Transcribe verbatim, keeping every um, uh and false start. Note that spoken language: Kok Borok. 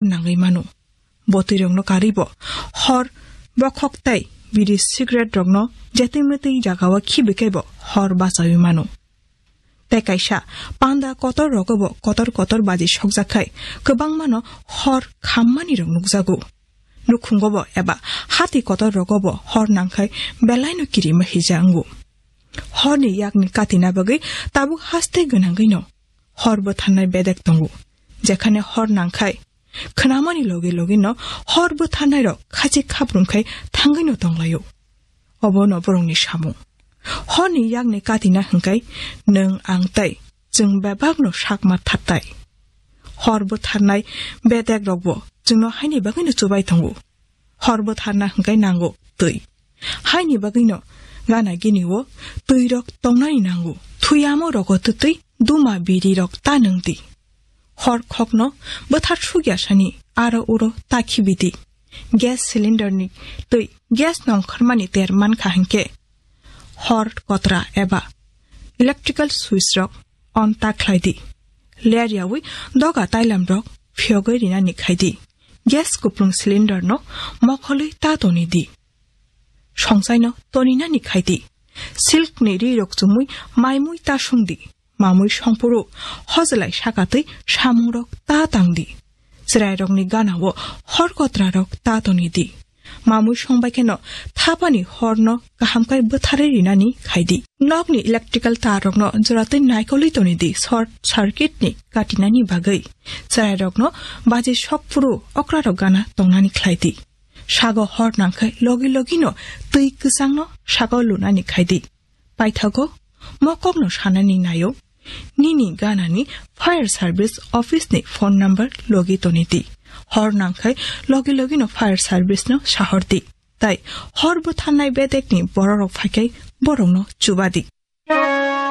nangwi mano. Bo twi rokno karwi bo hor bokhok tei biri cigarette rokno jetwi mwtwi jagao khibi khe bo hor bachawi mano. Tei kaisa panda kotor rogo bo kotor kotor baji sokjak khai kwbangmano hor khammani rok nukjago. Nukhungo bo eba hati kotor rogo bo hor nangkhai belaino kirima hija wngo. Horni yakni katina bagwi tabuk haste gwnangwino hor bwtharnai bedek tongo, jekhane hor nangkhai khwnamani logi logino hor bwtharnairok khachik khabrumkhai thangwino tonglaio. Obono borokni samung. Horni yakni katina hwnkhe nwng ang tei chwng bebakno sakma thattai. Hor bwtharnai bedekrokbo chwngno haini bagwino chubai tongo. Hor bwtharna hwnkhe nango twi. Haini bagwino gana gini o twirok tongnani nango. Thuyamo rogo twtwi duma birirok ta nwng di. Hor khokno bwthar sukya sani aro uro ta khibi di. Gas cylinder ni twi gas nongkhormani ter mankha hwnkhe hor kotra eba electrical switch rok on ta khlai di. Ler yawi doga tailam rok phiyogwi rinani khai di. Gas kuplung cylinder no mokholwi ta toni di. Songchaino toninani khai di. Silk ni ri rok chumui maimui ta sung di. Mamui songphuru hojelai sakatwi samungrok ta tang di. Chwrairokni ganao hor kotrarok ta toni di. Mamui songbai kheno thapani horno kaham khe bwtharwi rinani khai di. Nokni electrical tarrokno joratwi naikolwi toni di short circuit ni katinani bagwi. Chwrairokno baji sokphuru okrarok gana tongnani khlai di. Sago hor nangkhai logi logino twi kwchangno sago lunani khai di. Paithago mokokno sanani naio, nini ganani fire service office ni phone number logi toni di. Hor nangkhai logi logino fire service no sahor di. Tai hor bwtharnai bedekni bororok phaikhai borokno chuba di.